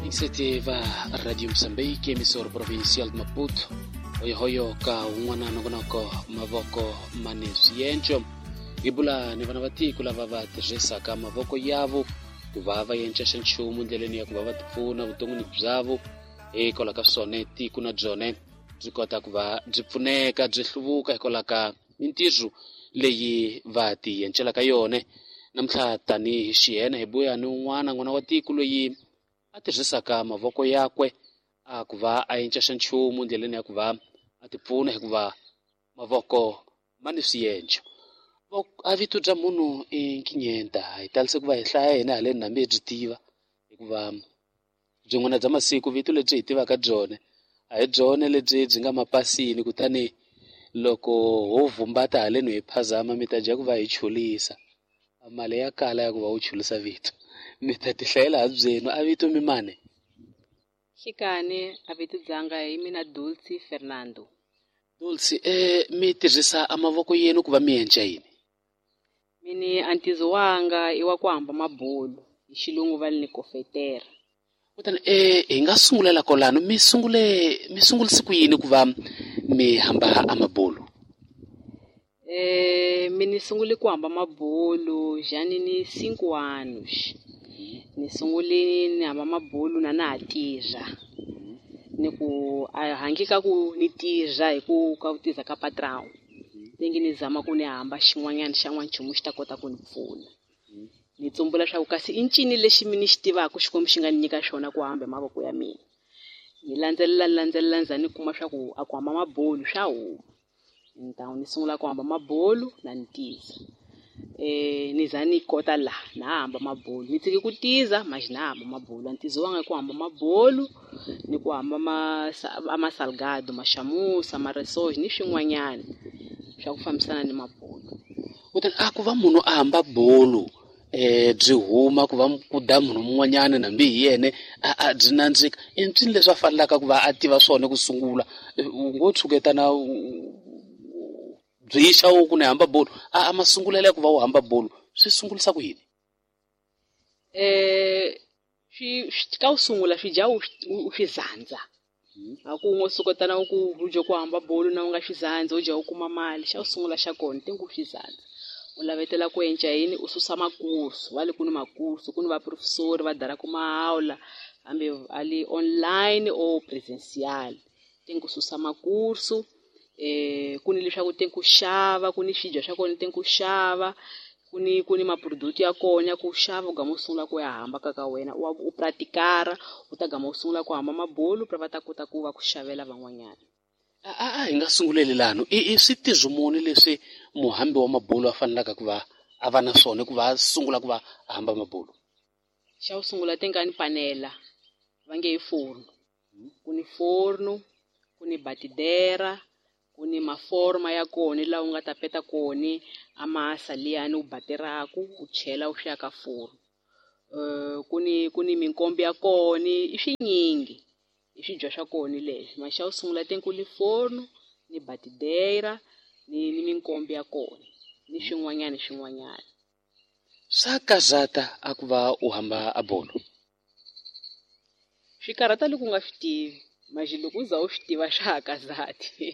Insete va Radio Mozambique, emissora provincial de Maputo. Hoyohoyo ka un'wana nongonoko mavoko mane swiendlo. Hi bula ni vana va tiko lava va tirhisaka mavoko yavo ku va va endla xa nchumu endleleni ya ku va va tipfuna vuton'wini byavo. Hikwalaho ka swona tiko na byona byi kota ku va byi pfuneka byi hluvuka hikwalaho ka mintirho leyi va ti endlelaka yona. Namuntlha tanihi xiyena hi buya ni un'wana n'wana wa tiko loyi a tirhisaka mavoko yakwe a ku va a endla xa nchumu endleleni ya ku va a tipfuna, hikuva mavoko ma ni swiendlo. A vito bya munhu i Nkinyenta, hi talise ku va hi hlaya hina haleni hambi hi byi tiva, hikuva byin'wana bya masiku vito lebyi hi tivaka byona a hi byona lebyi byi nga mapasini, kutani loko ho vumbata haleni hi phazama mi ta dya ku va hi chulisa. Mali ya kala ya ku va u chulisa vito, mi ta ti hlayela ha byenu. A vito mi mani? Xikani a vito dzanga hi mina Dulce Fernando. Dulce, mi tirhisa a mavoko yenu ku va mi endla yini? Mini a ntizo wanga i wa ku hamba mabulu, hi xilungu va ni kofetera. Kutani hi nga sungulela kwalano, mi sungurise ku yini ku va mi hamba a mabulu? Mini sungule ku hamba mabulu jani ni 5 anos. Ni sungule ni hamba mabulu na na ha tirha. Ni ku a hangi ka ku ni tirha hi ku ka ku tirha ka patrão. Tengi ni zama ku ni hamba xin'wanyana xa n'wanchumu xi ta kota ku ni pfuna. Ni tsumbula leswaku kasi i ncini lexi mi ni xi tivaka Xikwembu xi nga ni nyika xona ku hamba hi mavoko ya mina. Ni landzelela, landzelela, ni za ni kuma swa ku a ku hamba mabulu swa huma. Então ni sungula ku hamba mabulu na ni tiza. Ni za ni kota la na hamba mabulu. Ni tshike ku tiza mas na hamba mabulu. Ntizo wanga ku hamba mabulu ni ku hamba ma salgado, maxamusa, maresoji ni swin'wanyana swa ku fambisana ni mabulu. Kutani a ku va munhu a hamba bulu byi huma ku va ku da munhu mun'wanyana nambi hi yena a byi nandzika, i ncini leswi a fanelaka ku va a tiva swona ku sungula? U ngo tshuketana byi xa u ku ni hamba bulu, a masungulelo ya ku va u hamba bulu swi sungulisa ku yini? Ka u sungula swi dya u swi zandza. A ku ngo suketana u ku u dya ku hamba bulu na u nga swi zandzi, u dya u kuma mali. Xa u sungula xa kona te ku swi zandza. U lavetela ku endla yini? U susa makursu. Va le ku ni makursu, ku ni vaprofesori va dara ku mahaula, hambi a li online or presencial. Te ku susa makursu, ku ni leswaku te ku xava, ku ni swidya swa kona te ku xava, ku ni maproduct ya kona ya ku xava, u gama u sungula ku ya hamba ka ka wena, u pratikara, u ta gama u sungula ku hamba mabulu, pra va ta kota ku va ku xavela van'wanyana. A hi nga sunguleli lano, i switirho muni leswi muhambi wa mabulu a fanelaka ku va a va na swona ku va a sungula ku va a hamba mabulu? Xa ku sungula te nga ni panela, va nge i forno. Ku ni forno, ku ni batidera, ku ni maforma ya kona laha u nga ta peta kona a masa liyani u bateraku, u chela u swi ya ka forno. Ku ni minkombe ya kona, i swinyingi. I swidya swa kona leswi. Ma xa ku sungula te ku ni forno, ni batidera, ni minkombe ya kona, ni swin'wanyana swin'wanyana. Swa karhata a ku va u hamba a bolo? Swi karhata loko u nga swi tivi. Manje loko u za u swi tiva swa ha kazati.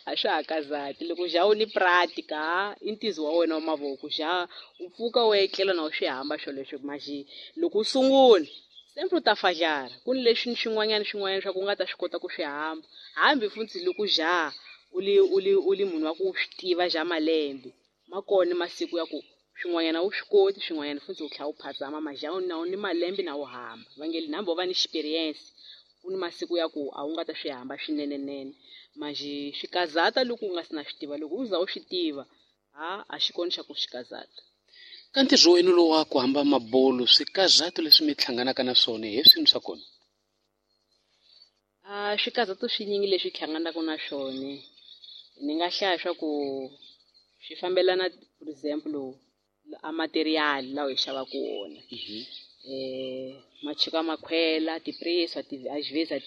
A swa ha kazati. Loko ja u ni pratika, i ntizo wa wena wa mavoko, ja u pfuka u etlela na u swi hamba swoleswo. Manje loko u sungula sempre u ta fajara. Ku ni leswi ni swin'wanyana swin'wanyana swa ku u nga ta swi kota ku swi hamba. Hambi futhi loko ja u li munhu wa ku swi tiva ja malembe, ma kona masiku ya ku swin'wanyana u swi koti, swin'wanyana futhi u tlhela u phazama. Maja na u ni malembe na u hamba. Va nge hambi wo va ni experience, ku ni masiku ya ku a wu nga ta swi hamba swinenenene. Manje swi kazata loko u nga si na swi tiva. Loko u za u swi tiva, a xi kona xa ku swi kazata. Ka ntirho wenu lowu wa ku hamba mabulu, swikazato leswi mi hlanganaka na swona hi swini swa kona? Swikazato swinyingi leswi hi hlanganaka na swona, ni nga hlaya swa ku swi fambelana, for example, a material lawa hi xavaka wona. Machuka makhwela, ti-preço, às vezes a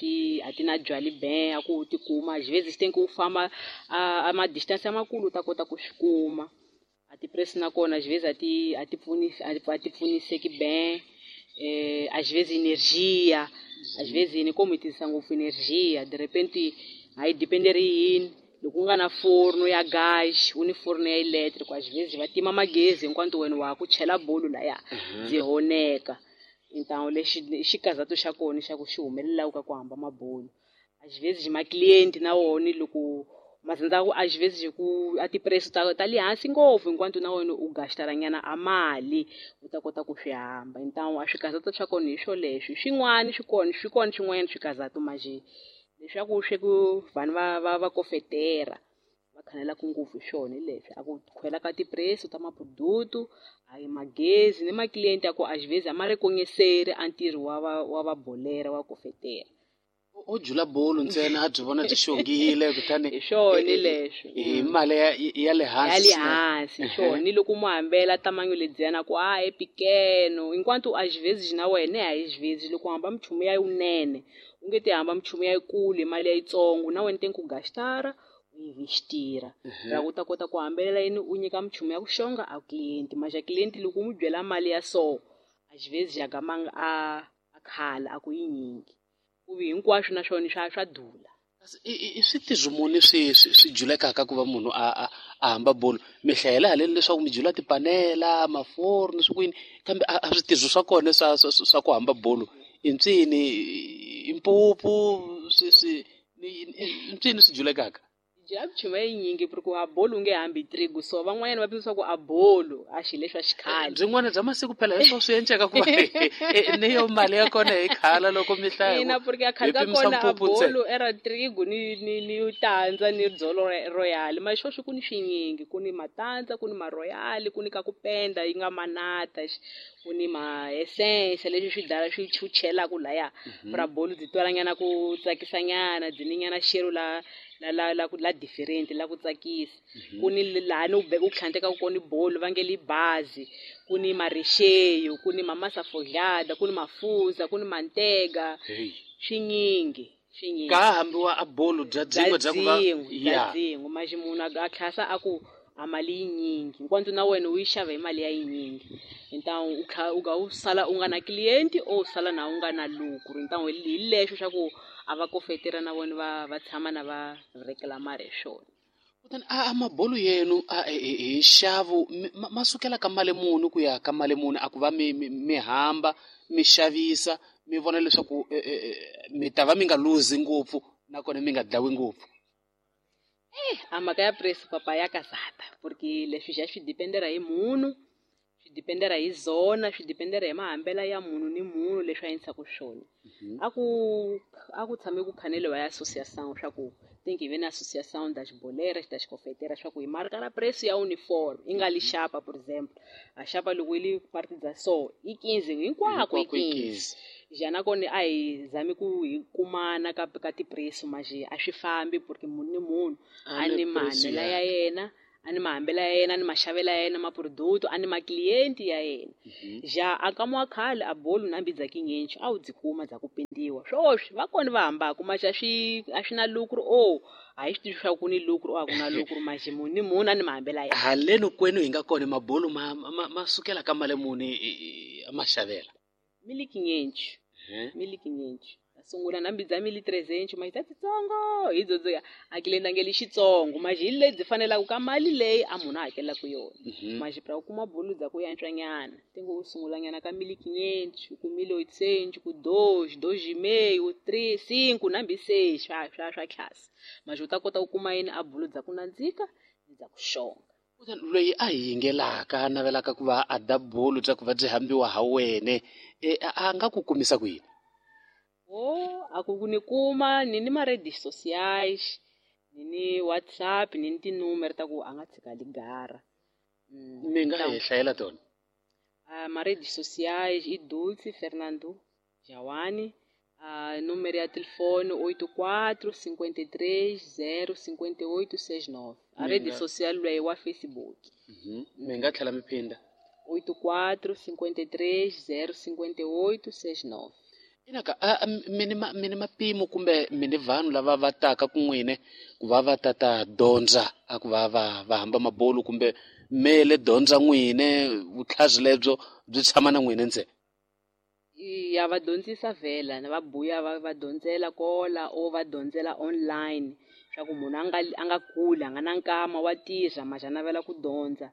ti na byali ben, a ku u ti kuma. Às vezes tem que u famba a ma distance makulu u ta kota ku swi kuma. A ti-preço na kona, às vezes a ti, a ti pfuni, a ti, a ti pfuniseki ben. Às vezes energia, às vezes ni como tirhisa ngopfu energia, de repente a yi dependeri yini loko u nga na forno ya gas u ni forno ya electric, às vezes va tima magezi hinkwato wena wa ha ku chela bolo laya byi honeka. Então lexi xikazato xa kona xa ku xi humelelaka ka ku hamba mabolo, às vezes ma-client na wona loko mazandza ku às vezes ku a ti-preço ta le hansi ngopfu, hinkwato na wena u gastara-nyana a mali u ta kota ku swi hamba. Então a swikazato swa kona hi swoleswo, swin'wana swi kona swi kona swin'wanyana swikazato manje leswaku swi ku vanhu va kofetera va khanelaka ngopfu hi swona hi leswi a ku khwela ka ti-preço ta maproduto, a hi magezi ni ma-client ya ku às vezes a ma reconhecer a ntirho wa va bolera wa kofetera. U jula bolo ntsena a byi vona byi xongile kutani hi swona leswo hi mali ya le hansi ya le hansi hi swona. Ni loko mu hambela tamanyo lediyana ku a e pequeno, enquanto às vezes na wena às vezes loko u hamba minchumu ya yinene u nge ti hamba minchumu ya yikulu hi mali ya yitsongo, na wena tem ku gastara u investira la u ta kota ku hambelela yini u nyika minchumu ya ku xonga a client. Mas a client loko u n'wi byela mali ya so às vezes ya gamanga a khala a ku yinyingi ku vi hinkwaswo na swona swa dula. I switirho muni swi julekaka ku va munhu a hamba bolo? Mi hlayela haleni leswaku mi jula tipanela, maforno, swi kwini, kambe a switirho swa kona swa ku hamba bolo i ncini? I mpupu, i ncini swi julekaka? Jula minchumu yinyingi porque a bolo u nge hambi trigo, so van'wanyana va pimisa ku a bolo a xilo lexi xa xikhale. Byin'wana bya masiku phela hi swona swi endleka ku va ni yo mali ya kona hi khala loko mi hlaya ina, porque a khale ka kona a bolo era trigo ni tandza ni dzolo royal, ma xo swi ku ni swinyingi, ku ni matandza, ku ni ma royal, ku ni ka ku penda yi nga manata, ku ni ma essence leswi swi dala swi chuchelaka laya pra bolo byi twalanyana ku tsakisanyana, byi ni nyana xero la la la la la different la ku tsakisa. Ku ni laha ni u u tlhandlekaka kona bolo va nge li bazi, ku ni marecheio, ku ni mamasa forjada, ku ni mafuza, ku ni mantega, swinyingi swinyingi. Ka hambiwa a bolo bya byin'we bya ku va bya byin'we manje munhu a tlhasa a ku a mali yinyingi, hinkwato na wena u yi xava hi mali ya yinyingi. Então u nga u sala u nga na client o sala na u nga na lucro. Então hi lexo xa ku a va kofetera na vona va tshama na va reclamar hi swona. Kutani a mabolo yenu hi nxavo ma sukela ka mali muni ku ya ka mali muni? A ku va mi hamba mi xavisa mi vona leswaku mi ta va mi nga luzi ngopfu nakona mi nga dlawi ngopfu. A mhaka ya preço papa ya kazata, porque leswi xa swi dependera hi munhu, swi dependera hi zona, swi dependera hi mahambela ya munhu ni munhu leswi a endlisaka swona. A ku tshame ku khaneliwa ya associação swa ku tem que ver na associação das boleiras, das cofeteiras, swa ku hi marka ra preço ya uniforme i nga li xapa, por exemplo a xapa loko yi li parte dza so i 15 hinkwako i 15. Ja nakona a hi zami ku hi kumana ka ti-preço manje a swi fambi porque munhu ni munhu a ni mahanyelo ya yena, a ni mahambelo ya yena, a ni maxavelo ya yena maproduto, a ni ma-client ya yena. Ja a ka wa khale a bolo na mbidza kinyenchi a wu byi kuma bya ku pendiwa swoswi va kona va hambaka manje a swi na lucro o a hi swi tivi swa ku ni lucro o a ku na lucro manje munhu ni munhu a ni mahambelo ya yena. Haleni kwenu hi nga kona mabolo ma sukela ka mali muni a maxavela? Mili kinhentos. Mili kinhentos. Sungula na mbidza mili 300 mas ta titsongo hi dzodzo ya a cliente nge li xitsongo mas hi lebyi fanelaka ka mali leyi a munhu a hakelaka yona. Mas pra u kuma bolo bya ku yantswanyana tingo u sungulanyana ka mili quinhentos, ku mili oitocentos, ku dois, dois e meio, três, cinco na mbi seis swa class. Mas u ta kota ku kuma yini a bolo bya ku nandzika ni bya ku xonga. Kutani loyi a hi yingelaka a navelaka ku va a da bolo bya ku va byi hambiwa ha wene a nga ku kumisa ku yini? O a ku ni kuma ni ni ma-redes sociais, ni ni WhatsApp, ni ni tinumere ta ku a nga tshika ligara. Mi nga hi hlayela tona? Ma-redes sociais i Dulce Fernando Jawani, número ya telefone 84 53 0 58 69. A rede social leyi wa Facebook. Mi nga tlhela mi phinda? 84 53 0 58 69. Inaka mi ni mapimo kumbe mi ni vanhu lava va taka kun'wine ku va va tata dyondza a ku va va hamba mabolo kumbe mele dyondza n'wine vutlhari lebyo byi tshama na n'wine ntsena? Ya va dyondzisa vhela na va buya va dyondzela kola o va dyondzela online swa ku munhu a nga kuli a nga na nkama wa tirha maxa navela ku dyondza.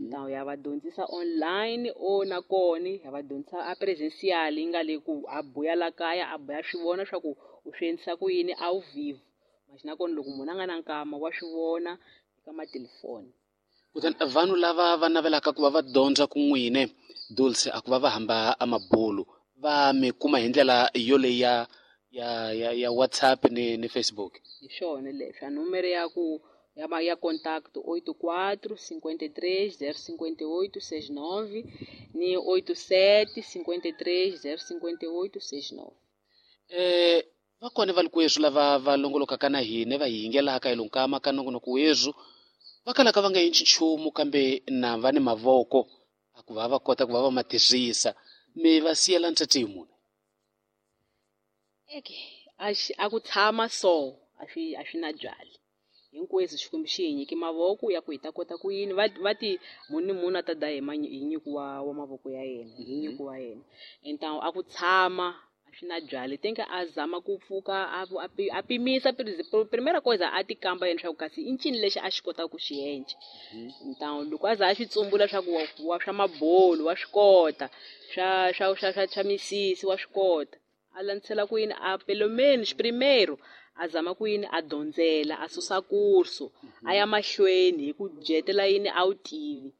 Ntawu ya va dyondzisa online o na kona ya va dyondzisa a presencial yi nga le ku a buya la kaya a buya swi vona swa ku u swi endlisa ku yini au vivo. Maxa na kona loko munhu a nga na nkama wa swi vona eka matelefoni. Kutani vanhu lava va navelaka ku va va dyondza ku n'wine Dulce a ku va va hamba a mabulu va mi kuma hi ndlela yoleyi ya WhatsApp ni Facebook. Hi swona leswi a nomoro ya ku ya contact 84 53 058 69 ni 87 53 058 69. Va kona va likweswi lava va longolokaka na hina va hi yingelaka hi lonkama ka nongonoko weswi va kalaka va nga endli nchumu kambe na va ni mavoko a ku va va kota ku va va ma tirhisa mi va siyela ntsetse hi mune. Eke a ku tshama so a swi na byali hinkweswo Xikwembu xi hi nyike mavoko ya ku hi ta kota ku yini va ti munhu ni munhu a ta daya hi nyiko wa mavoko ya yena hi nyiko wa yena. Entawu a ku tshama a swi na byali tenka a zama ku pfuka a pimisa primera coisa a ti kamba yena swa ku kasi i ncini lexi a xi kotaka ku xi endla. Ntawu loko a za a xi tsumbula swa ku wa swa mabolo wa swi kota swa misisi wa swi kota a landzela ku yini a pelo menos primeiro a zama ku yini a dyondzela a susa kurso a ya mahlweni hi ku dyetela yini a wu tivi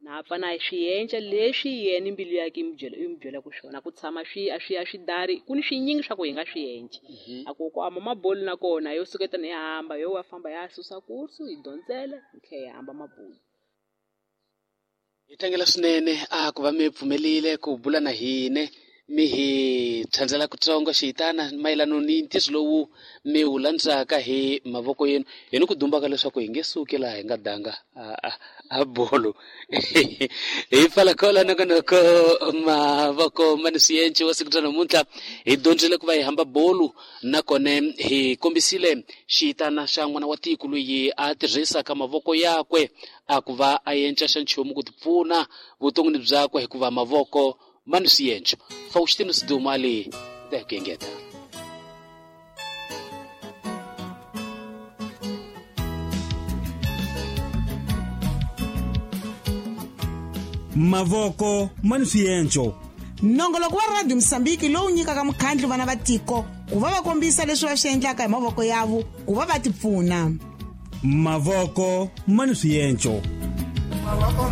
na pfa na swi endla leswi yena mbilu yakhe yi n'wi byelaka swona ku tshama swi a swi dari ku ni swinyingi swa ku hi nga swi endla. A ku ku hamba mabolo na kona yo suketana hi hamba yo wa famba ya susa kurso hi dyondzela hi tlhela hi hamba mabolo. Hi tlangela swinene a ku va mi pfumelile ku bula na hina mi hi tsandzela kutsongo xiyitana mayelana ni ntirho lowu mi wu landzaka hi mavoko yenu hi ni ku dumbaka leswaku hi nge suki laha hi nga danga a bolo. Hi pfala kola nongonoko mavoko ma ni swienci wa siku ra namuntlha hi dyondzile ku va hi hamba bolo nakona hi kombisile xiyitana xa n'wana wa tiko loyi a tirhisaka mavoko yakwe a ku va a endla xa nchumu ku tipfuna vuton'wini byakwe hikuva mavoko ma ni swienco. Faustino Sidumali ta ku engeta. Mavoko ma ni swienco. Nongoloko wa Radio Mozambique lowu nyikaka mukhandlu vana va tiko ku va va kombisa leswi va swi endlaka hi mavoko yavo ku va va tipfuna. Mavoko ma ni swienco. Mavoko.